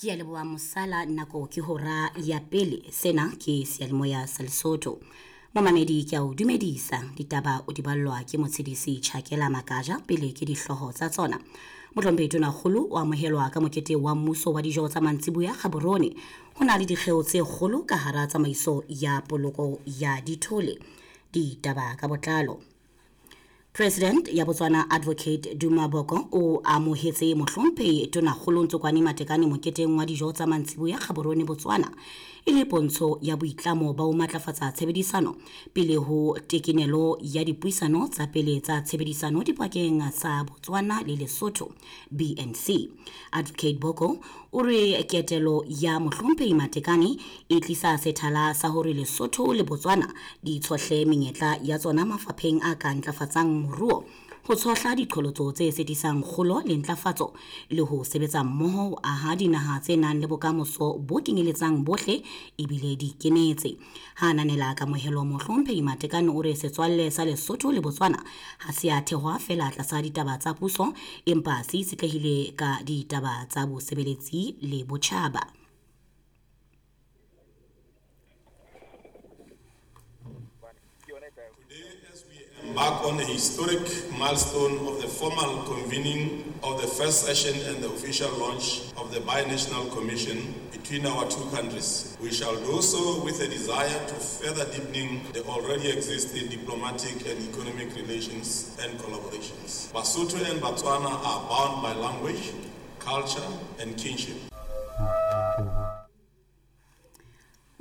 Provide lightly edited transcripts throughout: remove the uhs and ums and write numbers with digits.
Ke a leboha mosala nako ke hora ya pele. Sena ke seyalemoya sa Lesotho. Momamedi ke a o dumedisa. Ditaba o di ballwa ke motshedisi Chakela Makaja pele ke dihlooho tsa tsona. Mohlomphehi Tonakgolo o amohelwa ka mokete wa mmuso wa dijo tsa mantsiboya Gaborone. Ho na le dikgeo tse kgolo ka hara tsamaiso ya poloko ya dithole. Ditaba ka botlalo. President ya Botswana Advocate Duma Boko o amohetse mohlomphehi Tonakgolo Ntsokwane Matekane moketeng wa dijo tsa mantsiboya Gaborone Botswana e le pontsho ya boitlamo ba ho matlafatsa tshebedisano pele ho tekenelo ya dipuisano tsa pele tsa tshebedisano dipakeng tsa Botswana le Lesotho BNC. Advocate Boko o re ketelo ya mohlomphehi Matekane e tlisa sethala sa hore Lesotho le Botswana di tshohle menyetla ya tsona mafapheng a ka ntlafatsang moruo, ho tshohla diqholotso tse sitisang kgolo le ntlafatso le ho sebetsa mmoho ho aha dinaha tse nang le bokamoso bo kenyeletsang bohle ebile di ikemetse. Ha ananela kamohelo mohlomphehi Matekane o re setswalle sa Lesotho le Botswana ha se a thehwa feela tlasa ditaba tsa puso empa se itshetlehile ka ditaba tsa bosebeletsi le botjhaba. Today, as we embark on a historic milestone of the formal convening of the first session and the official launch of the Binational Commission between our two countries, we shall do so with a desire to further deepening the already existing diplomatic and economic relations and collaborations. Basotho and Botswana are bound by language, culture, and kinship.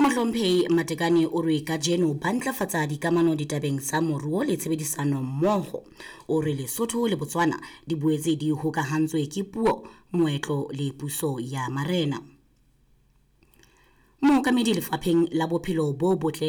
Mohlomphehi Matekane o re kajeno ba ntlafatsa dikamano ditabeng tsa moruo le tshebedisano mmoho. O re Lesotho le Botswana di boetse di hokahantswe ke puo, moetlo le puso ya marena. Mookamedi lefapheng la bophelo bo botle